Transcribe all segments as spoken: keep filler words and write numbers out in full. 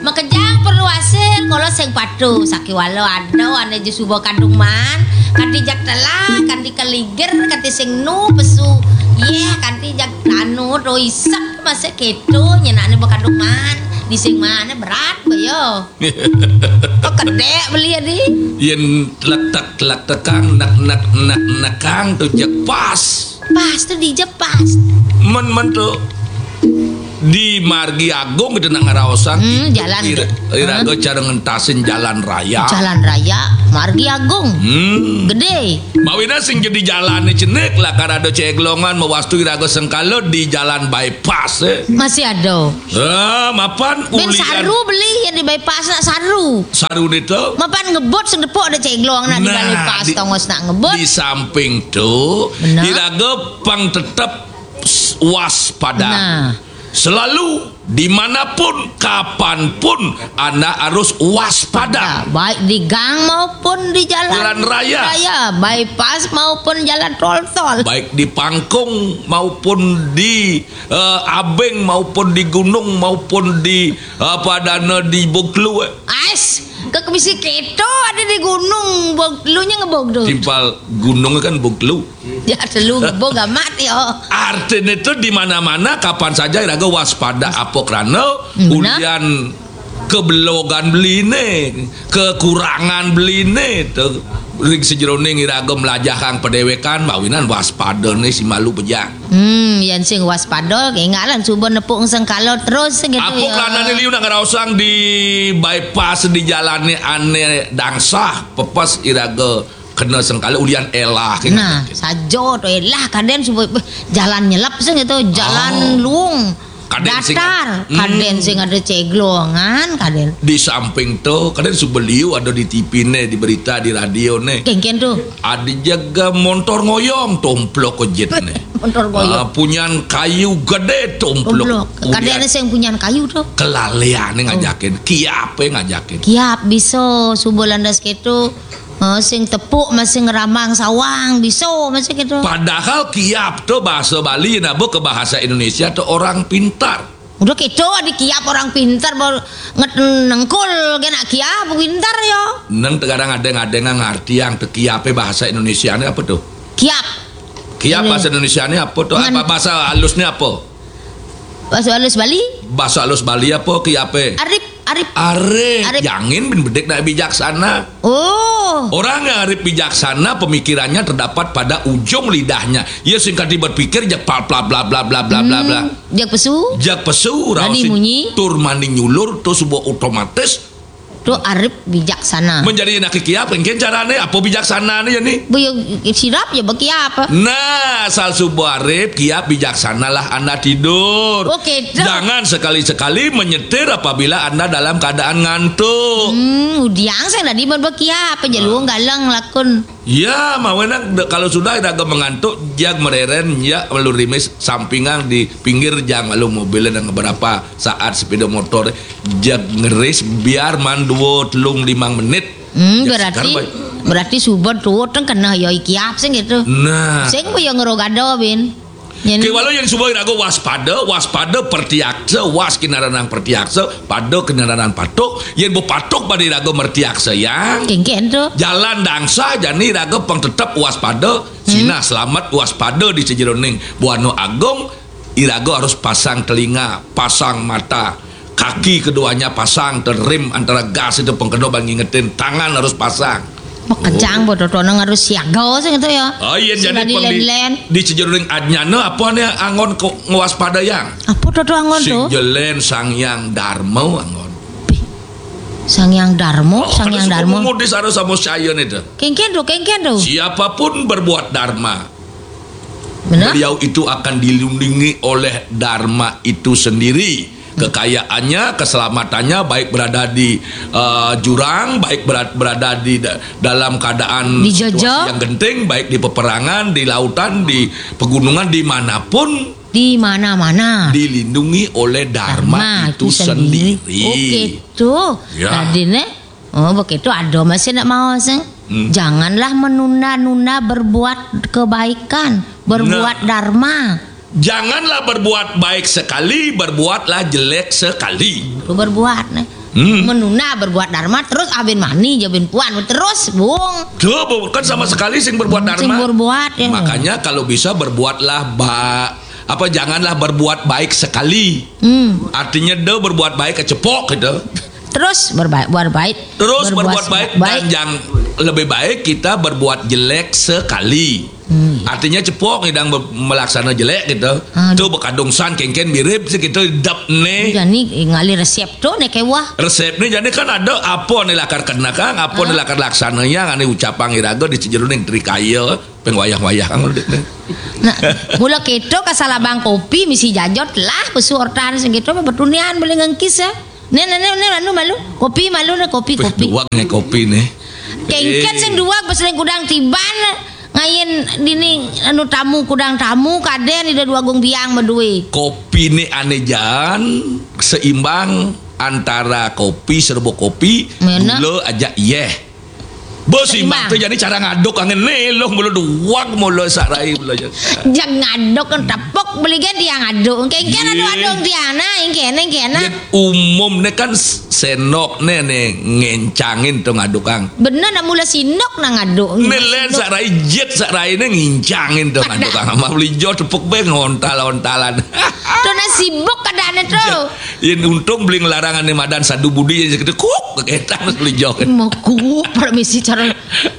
Makejang perlu asil, kala sing patuh, sakiwala ada ané ja suba kadung maan, kanti jak telah, kanti keliger, kanti sing nu pesu. Yéh, kanti jak anu to isep masih kéto nyenané ba kadung maan. Di sing maan berat ba ya. Kok kedék beli adi? Yén letek-letekang, nek-nek-nek-nekang to jak pas. Pas to dija pas. Men-men to di Margi Agung kita nak ngeraosang. Hmm, jalan. Ira-, iraga cara ngentasin jalan raya. Jalan raya Margi Agung. Hmm. Gedé. Mawinan sing jadi jalané cenik, lakar ada ceglongan mawastu iraga sengkala di jalan bypass, eh. Masih ada. Ah, mapan. Bén ulian. Saru beli ya di bypass nak saru. Saru to? Mapan ngebut sing depok ada ceglongan di bypass, di, tongos nak ngebut. Di samping to, benar, iraga pang tetep s-, waspada. Nah. Selalu, dimanapun, kapanpun, Anda harus waspada. Nah, baik di gang maupun di jalan, jalan raya, raya, bypass maupun jalan tol-tol. Baik di pangkung maupun di, eh, abing maupun di gunung maupun di, eh, apa adana di buklu, eh. Ais, ke kemisi keto ada di gunung, buklunya ngebog tuh. Timpal gunung kan buklu. Ya, telu ngebog amat ya. Artinya itu di mana-mana, kapan saja iraga waspada apa krana, hmm, benar, ulian kebelogan beliné, kekurangan beliné, to ring sajeroning iraga mlajahang padéwékan, mawinan waspada né si malu bejang. Hmm, yén sing waspada, kénggalan suba nepuk sengkala terus gitu. Apa ya. Kranané liu nak ngraosang di bypass di jalané ané dangsah, pepes iraga kena sengkala ulian élah, kénggalan. Nah, saja to élah kadén suba, beh, jalan nyelep sing gitu, jalan, oh, luung. Kadén sing datar, hmm, kadén sing ada ceglongan, kadén. Di samping to, kadén suba liu ada di T V né, di berita, di radio né. Kéngkén to? Ada jaga montor ngoyong, tomplok ojit né. Montor ngoyong. Ah, punyan kayu gedé, tomplok. Tomplok. Kadén ulian. Ada sing punyan kayu to. Kelaliané, oh, ngajakin, kiapé ngajakin. Kiap bisa suba landas kéto. Eh, sing tepuk masih ngerambang sawang, bisa masih gitu. Padahal kiap to bahasa Bali, nabo ke bahasa Indonesia to orang pintar. Udah kéto, ada kiap orang pintar, baru nget-, nengkul kena kiap pintar ya. Neng tegarang ada-ada ngarti yang te kiapé bahasa Indonesiané apa tuh? Kiap. Kiap ini. Bahasa Indonesiané apa tuh? Ngan- apa bahasa halusnya apa? Bahasa halus Bali? Bahasa halus Bali apa kiapé? Arip, arip. Arip. Arip. Yangin bin bedik nak bijaksana. Oh. Orang yang arif bijaksana, pemikirannya terdapat pada ujung lidahnya. Ia sing kadi berpikir jak bla bla bla bla bla bla bla bla. Hmm, jak pesu? Jak pesu, dadi raos munyi? Tur mani nyulur, to suba otomatis. To arif bijaksana. Menjadi nak kiap, engkén carané, apa bijaksanané ya ni? Bu, ya, sirap ya bagi apa? Nah, asal suba arif, kiap bijaksanalah Anda tidur. Oke, to. Jangan sekali-sekali menyetir apabila Anda dalam keadaan ngantuk. Hmm, udiang saya tadi buat bagi apa? Jaluang galang lakun. Ya, mawinan de-, kalau sudah iraga mengantuk, jag mereren, ya, lalu rimis sampingan di pinggir jang, lalu mobilnya dan beberapa saat sepeda motor, jag ngeris biar man dua, telung, limang menit. Hmm, jag berarti, segar, baik. Berarti suba tuh kan kena ya ikiap sing gitu. Nah. Sing ya ngerogado, Bin. Yen kéwala yén suba iraga waspada, waspada pertiaksa, was kinaranan pertiaksa, pada kinaranan patuk, yén ba patuk pada iraga mertiaksa yang. Kéngkén to. Jalan dangsa jani iraga pang tetep waspada, hmm, sinah selamat waspada di sajeroning Buana Agung, iraga harus pasang telinga, pasang mata. Kaki keduanya pasang, terrem antara gas itu pengkena bang ngingetin, tangan harus pasang. Makejang ba totoné harus siaga sing itu ya. Oh, iya, sing jadi tadi pengli-, len-len. Di sajeroning ajnana apa né anggon ko-, ngwaspadayang? Apa toto anggon to? Sing jelen Sang Hyang Darma anggon. Sang Hyang Darma, oh, Sang Hyang Darma. Mudis harus sama Syayan itu. Kéngkén to, kéngkén to. Siapapun berbuat dharma, benar? Beliau itu akan dilindungi oleh dharma itu sendiri. Kekayaannya, keselamatannya, baik berada di, eh, jurang, baik berat-, berada di da-, dalam keadaan, dijajah, situasi yang genting, baik di peperangan, di lautan, di pegunungan, dimanapun, di mana-mana, dilindungi oleh dharma, dharma itu, itu sendiri, sendiri. Oke, tuh. Ya. Tadi nih, oh, begitu ada masih nak mau sih. Hmm. Janganlah menunda-nunda berbuat kebaikan, berbuat, nah, dharma. Janganlah berbuat baik sekali, berbuatlah jelek sekali. Itu berbuat nih. Hmm. Menuna berbuat dharma terus abin mani jabin puan terus bung. Tuh, Bu, kan sama sekali sing berbuat Sing dharma. Berbuat ya. Makanya kalau bisa berbuatlah ba apa janganlah berbuat baik sekali. Hmm. Artinya do berbuat baik kecepok gitu. Terus berbaik, berbuat baik. Terus berbuat, baik, dan yang lebih baik kita berbuat jelek sekali. Hmm. Artinya cepok ngidang be- melaksana jelek gitu. Aduh. Tuh bekadung san kengken mirip sih gitu dap nih. Jadi ngali resep tuh nih kewah. Resep nih jadi kan ada apa nih lakar kena kang, apa nih lakar laksana yang ane ucapang iraga di sejeroning trikaya pengwayah-wayah kang. Nah, mula keto kasal abang kopi misi jajot lah pesu ortan segitu betunian boleh ngengkis ya. Nih nih nih nih malu malu kopi malu nih kopi Wih, kopi. Duang nih kopi nih. Kengken Eh. sing duang peseling kudang tiban ngain dini anu tamu kudang tamu kaden ida dua gung biang medui. Kopi nih ane jan seimbang antara kopi serba kopi Mana? Gula aja iyeh. Bos Seimbang. Imbang tuh jadi cara ngaduk angin nih loh mulu duang mulu sarai mulu aja. Jangan ngaduk kan tepuk beli kan dia ngaduk. Kengken anu Iya. Adung Tiana, yang kena yang kena. Umum nih kan senok nih nih ngencangin tuh ngaduk kang. Bener nak mula sinok nak ngaduk. Nih len sarai jet sarai nih ngincangin tuh ngaduk kang. Sama beli jo tepuk be ngontal-ontalan. Tuh nak sibuk keadaannya tuh. Yen untung beli ngelarangan nih madan sadu budi yang segitu kuk keketan beli jo. Mekuk permisi cara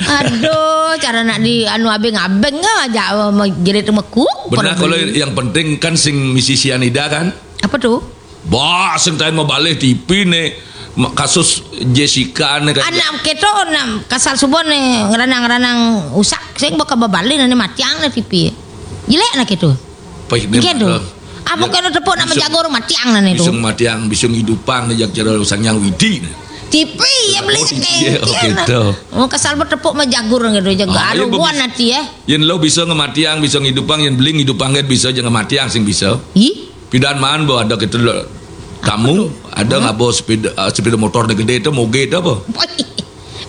aduh cara nak di anu abeng-abeng aja mau jadi tuh mekuk. Benar Permisi. Kalau yang penting kan sing misi sianida kan. Apa tuh? Bah, sing tain mau balik T V nih. Ma- Kasus Jessica nih kan. Anak keto nam kasal subuh nih ngeranang-ngeranang usak sing bakal babalik nanti matiang nih T V. Jelek nak itu. Paih nih. Iya tuh. Malah. Apa Ya, kena tepuk nak bisa- menjagur matiang nanti Bisa tuh. matiang, bisa ngidupan nih jak cara sang yang widi nih. T V ya beli Oh, sekengkir. iya, oke, tuh. Oh kasal bertepuk menjagur gitu jaga Ah, iya, aruan bagus. nanti ya. Yen lo bisa ngematiang, bisa ngidupang, yen beling ngidupang kan bisa jangan matiang sing bisa. Ih. Pidan man bo ada kita lo tamu, ada ngabo sepeda uh, sepeda motor nih gede itu moge itu apa? Begitu.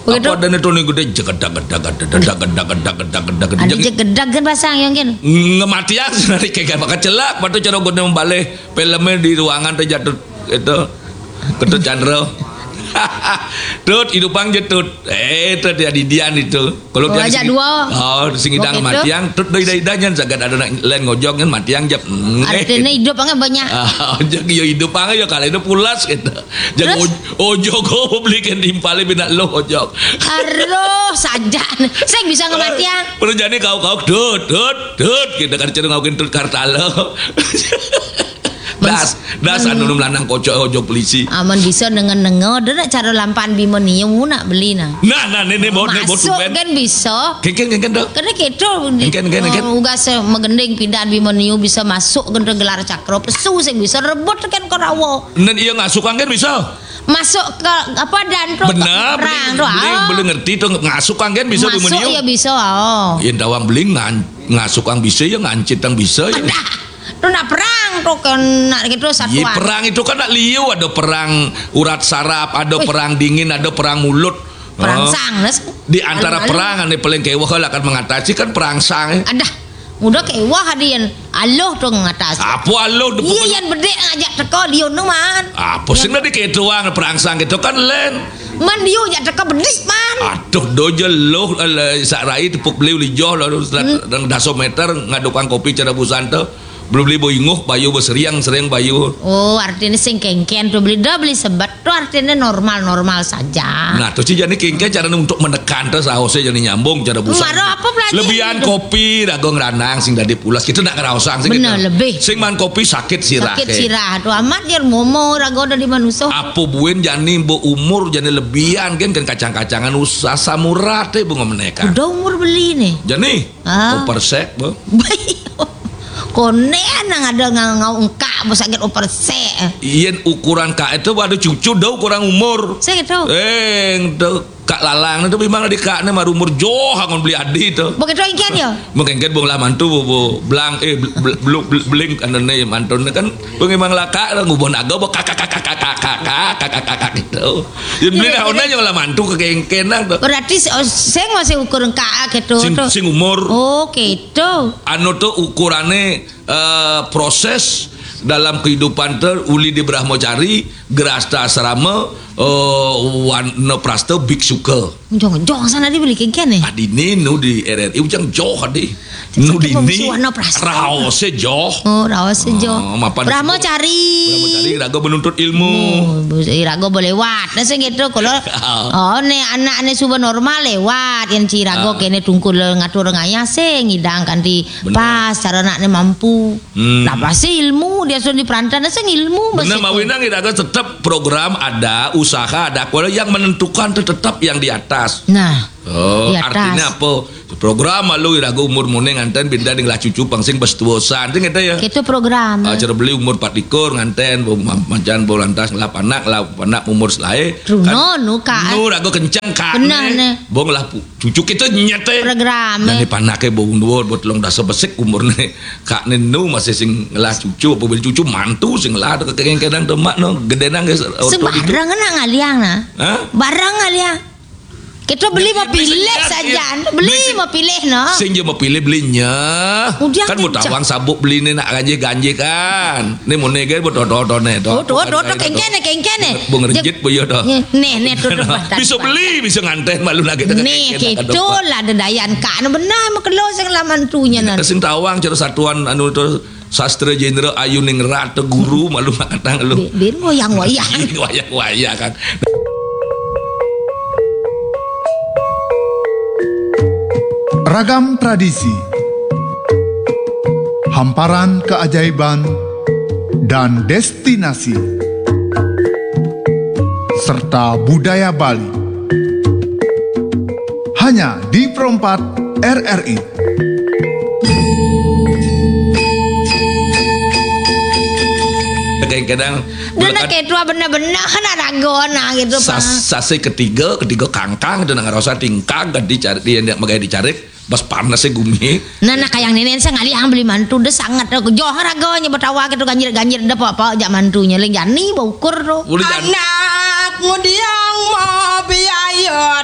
Apa ada nih tuh nih gede jegedak gedak gedak gedak gedak gedak gedak gedak Ada gedak. jegedak kan pasang yang kan. Ngematiang senari kayak bakal celak, patu cara gue membalih filmnya di ruangan tuh jatuh itu ketut Chandra. Tut hidupang je tut. Eh itu dia di Dian itu. Kalau Oh, dia ajak sing- dua. Oh, sing idang Waktu itu? Matiang, tut doi dai dai jan jagat ada nak lain ngojok kan Matiang jap. Artinya hidup angin banyak. Ah, ojok yo hidup angin yo kalau itu pulas gitu. Jadi Terus? oj- ojok kau belikan timpalnya bina lo ojok. Aduh, saja. Saya bisa ngematiang. Perlu jadi kau kau tut tut tut gitu kan cara ngaukin tut kartalo. Das, das anu lanang kocok ojok polisi. Aman bisa dengan dengar dia nak cara lampan bima niu nak beli nah. Nah, nah, ini bot, ini bot Masuk tuben. Kan bisa. Kengken, kengken dah. Kena keto Kengken, kengken, kengken. Ugas megending pindahan bima niu bisa masuk genta gelar cakra pesu sing bisa rebut kan korawo. Nen iya ngasukan kan bisa. Masuk ke apa dan tu Benar, perang beli, tu. beli, Ah. beli ngerti tu ngasukan kan bisa Masuk beli ya bisa. Oh. Yang dawang beli ngan, ngasukan bisa ya ngancit yang bisa ya. Dah. Tu nak perang tu kena gitu Ye, satuan. Perang itu kan nak liu ada perang urat saraf, ada Wih. Perang dingin, ada perang mulut. Perang Oh. sang nas. Di antara Lalu-lalu. Perang yang paling kewah lah akan mengatasi kan perang sang. Eh. Adah. Mudah kewah hadian. Aloh tu ngatas. Apa aloh tu Iya yang bedek ngajak teko dia nu man. Apa sih nak diketuang perang sang gitu kan len. Man dia ajak teko bedis man. Aduh dojo loh eh, sak rai tepuk beli uli joh lalu hmm. Daso meter ngadukang kopi cara busan tu. Belum beli boinguh bayu berseriang sering bayu. Oh, artinya sing kengken tu beli dah beli sebet tu artinya normal-normal saja. Nah, tu sih jadi kengken cara untuk menekan tu sausnya jadi nyambung cara busan. Maro apa pelajari Lebihan itu? Kopi rago ngeranang sing dadi pulas kita nak ngeraosang sing Benar, kita. Lebih. Sing man kopi sakit sirah. Sakit Ke. Sirah tu amat dia momo rago dari manusia. Apa buin jani bu umur jani lebihan kan kan kacang-kacangan usah samurat eh bunga meneka. Udah umur beli nih. Jani. Ah. Opersek bu. Konen nang ada ngau engkak besakit opersek. Yen ukuran kak itu ada cucu dah ukuran umur. Saya gitu. Eh, tu kak lalang itu memang di kak ni mar umur joh angon beli adi tu. Begitu ikan ya. Mengengket bong lah mantu bu, bu belang eh bel- bel- bel- beling kan ni mantu ni kan bong memang lah kak lah ngubon aga bu kak kak kak kak kak kak kak kak kak kak kak gitu. Yen beli Iya, dah iya. Ona yang lah mantu ke kengken lah tu. Berarti se- sing masih ukur engkak gitu Sing, tu. Sing umur Oh, gitu. Anu tu ukurane eh, proses dalam kehidupan tu uli di Brahmacari, gerasta asrama, Eh, wanaprasta biksuka. Jong-jong sana di beli kengken eh. Adine nu di R R I ujang joh adi. Nu dini wanaprasta. Raose joh. Oh, raose joh. Oh, mapan Brahmacari. Brahmacari raga menuntut ilmu. Oh, iraga boleh lewat. Nah, sing gitu kalau oh ne anak ne suba normal lewat yang ci raga kene tungkul ngatur ngayah sing ngidang kanti pas cara anak ne mampu. Hmm. Lah pasti ilmu dia sudah di perantauan sing ilmu. Bener, mawinang iraga tetap program ada, usaha ada, kalau yang menentukan itu tetap yang di atas. Nah. Oh, artinya apa? Program malu iraga umur mune nganten benda ding lah cucu pangsing bes tuosan. Sing kata ya. Itu program. Ah, cara beli umur empat likur nganten, bo ma-, mancan bo lantas ngelap anak, ngelap anak umur selae. Truno nu ka. Nu raga kenceng ka. Benar ne. Bo ngelah pu-, cucu kita nyete. Program. Dan ni panake bo undur, bo telung dasa besik umur ne. Kak ne nu masih sing ngelah cucu, apa beli cucu mantu sing ngelah ke kadang demak no, gedenang guys. Sembarang nak ngaliang nah. Hah? Barang ngaliang. Kita beli mau pilih saja, beli mau pilih no. Sing je mau pilih belinya. Kan mau tawang sabuk beli ni nak ganjil-ganjil kan. Ni mau negai buat dodo ne. Oh, dodo kengken ne, kengken ne. Bung rejit boyo doh. Nih, nih tuh. Bisa beli, bisa nganten malu lagi. Nih, kita lah ada dayan kak. Nah, benar mau kelo sing laman tunya nah. Sing tawang cara satuan anu tu sastra jenderal ayu ning rata guru malu mak katang lu. Bin wayang-wayang. Wayang-wayang kan. Ragam tradisi, hamparan keajaiban, dan destinasi, serta budaya Bali. Hanya di Pro empat R R I. Kadang-kadang Nana ketua benar-benar kan ada gona gitu, Pak. Sas-, sasi ketiga, ketiga kangkang itu nang rasa tingkang kan dicari, dia ndak magai dicari, pas panas ya gumi. Nana kayang nenek saya ngalih yang beli mantu deh sangat aku joh raganya betawa gitu ganjir-ganjir deh apa-apa jak mantunya lagi jani bau ukur tuh. Boleh jani. Anak mudiang mau biaya